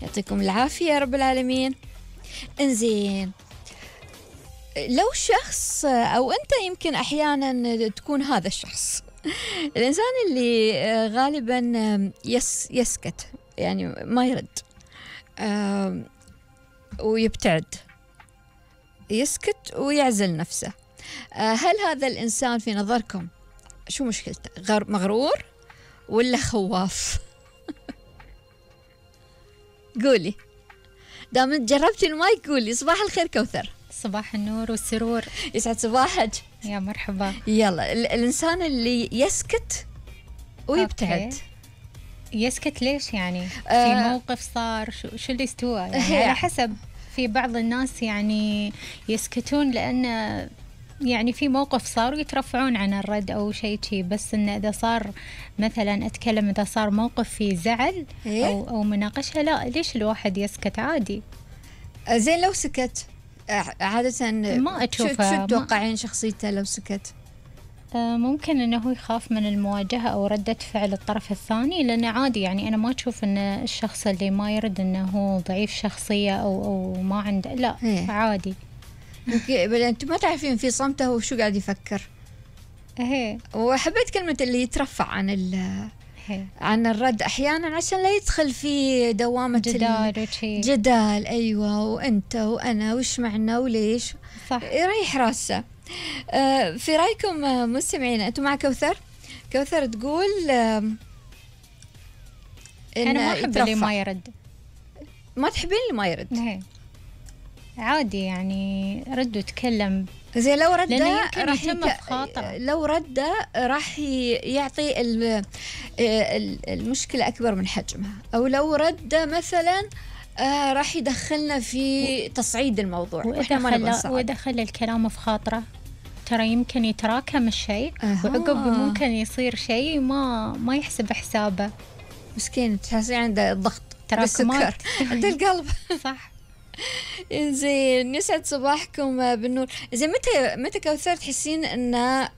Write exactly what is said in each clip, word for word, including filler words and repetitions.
يعطيكم العافية يا رب العالمين. انزين، لو شخص أو أنت يمكن أحيانا تكون هذا الشخص الإنسان اللي غالبا يس يسكت، يعني ما يرد ويبتعد، يسكت ويعزل نفسه، هل هذا الإنسان في نظركم شو مشكلته؟ مغرور ولا خواف؟ قولي، دام جربتي المايك قولي. صباح الخير كوثر. صباح النور والسرور، يسعد صباحك. يا مرحبا. يلا، الإنسان اللي يسكت ويبتعد. أوكي. يسكت ليش يعني؟ آه في موقف صار، شو, شو اللي استوى يعني؟ على حسب. في بعض الناس يعني يسكتون لأن يعني في موقف صار ويترفعون عن الرد أو شيء شيء، بس إنه إذا صار مثلا أتكلم إذا صار موقف فيه زعل أو أو مناقشة، لا ليش الواحد يسكت؟ عادي. زين لو سكت عادة ما أشوفه. شو تتوقعين شخصيته لو سكت؟ ممكن أنه يخاف من المواجهة أو ردة فعل الطرف الثاني، لأنه عادي يعني أنا ما أشوف أن الشخص اللي ما يرد أنه هو ضعيف شخصية أو أو ما عنده، لا هي. عادي. أنت ما تعرفين في صمته وشو قاعد يفكر. هي. وحبيت كلمة اللي يترفع عن ال هي. عن الرد أحيانا عشان لا يدخل في دوامة جدال جدال. أيوة، وأنت وأنا وش معنا وليش. صح. يريح راسه. آه في رأيكم آه مستمعين، أنتم مع كوثر؟ كوثر تقول آه إن أنا ما أحب اللي ما يرد. ما تحبين اللي ما يرد؟ هي. عادي يعني رد وتكلم. زي لو رد راح يك... لو رد راح يعطي المشكلة أكبر من حجمها، أو لو رد مثلا آه راح يدخلنا في تصعيد الموضوع وإذا خلى وإذا خلى الكلام في خاطره ترى يمكن يتراكم الشيء أه. وعقب ممكن يصير شيء ما ما يحسب حسابه. مسكين، تحسين عنده الضغط، تراكمات عند القلب. صح. زين، يسعد صباحكم بالنور. زين، متى متى كوثر تحسين انه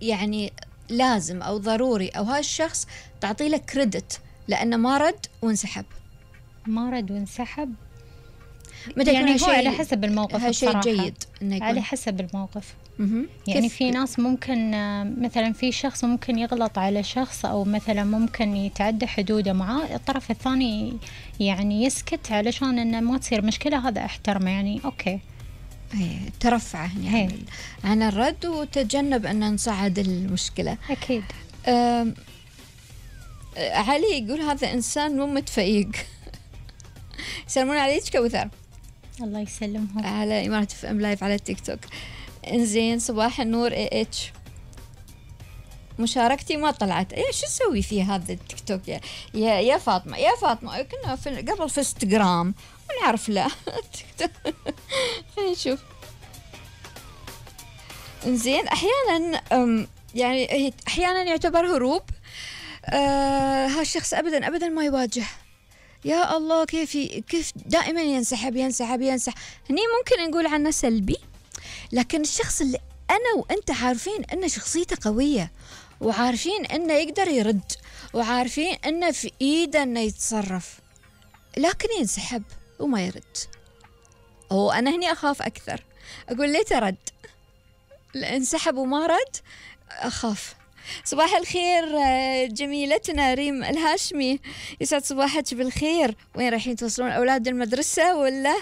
يعني لازم او ضروري او هالشخص تعطي له كريدت لانه ما رد وانسحب؟ ما رد وانسحب يعني هو على حسب الموقف. شيء جيد على حسب الموقف. يعني في ناس ممكن مثلا في شخص ممكن يغلط على شخص أو مثلا ممكن يتعدى حدوده معاه، الطرف الثاني يعني يسكت علشان إنه ما تصير مشكلة، هذا احترمه يعني أوكي. هي ترفع يعني عن الرد وتجنب أن نصعد المشكلة. أكيد. علي يقول هذا إنسان مو متفيق. يسلمون عليك كوثر. الله يسلمهم. على إمارة اف ام لايف على التيك توك. انزين، صباح النور اي اتش. مشاركتي ما طلعت، ايه شو اسوي في هذا التيك توك يا يا, يا فاطمه يا فاطمه كنا في قبل في انستغرام ونعرف لا تيك توك. خلينا نشوف. انزين، احيانا يعني احيانا يعتبر هروب. آه هالشخص ابدا ابدا ما يواجه. يا الله، كيف كيف دائما ينسحب ينسحب ينسحب. هني ممكن نقول عنه سلبي، لكن الشخص اللي أنا وأنت عارفين أنه شخصيته قوية، وعارفين أنه يقدر يرد، وعارفين أنه في إيده أنه يتصرف، لكن ينسحب وما يرد. أو أنا هني أخاف أكثر، أقول ليه ترد؟ انسحب وما رد، أخاف. صباح الخير جميلتنا ريم الهاشمي، يسعد صباحك بالخير. وين رايحين توصلون أولاد المدرسة ولا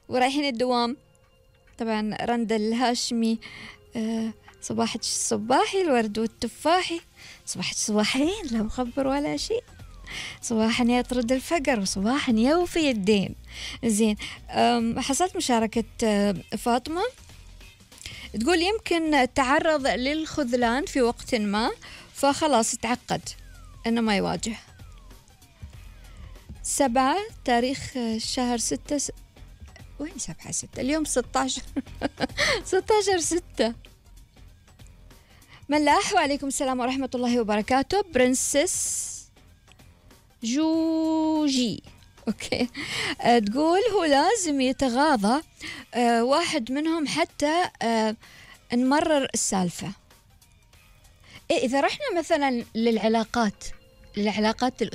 ورايحين الدوام؟ طبعا رند الهاشمي، أه صباحك الصباحي الورد والتفاحي، صباحك صباحين لا مخبر ولا شيء، صباحا يطرد الفقر وصباحا يوفي الدين. زين، حصلت مشاركة فاطمة تقول يمكن تعرض للخذلان في وقت ما فخلاص تعقد انه ما يواجه. سبعة تاريخ شهر ستة س... وين سبعة ستة اليوم ستة عشر ستة عشر ستة. ملاح، وعليكم السلام ورحمة الله وبركاته. برنسس جوجي اوكي. أه تقول هو لازم يتغاضى أه واحد منهم حتى أه نمرر السالفة. إيه إذا رحنا مثلا للعلاقات للعلاقات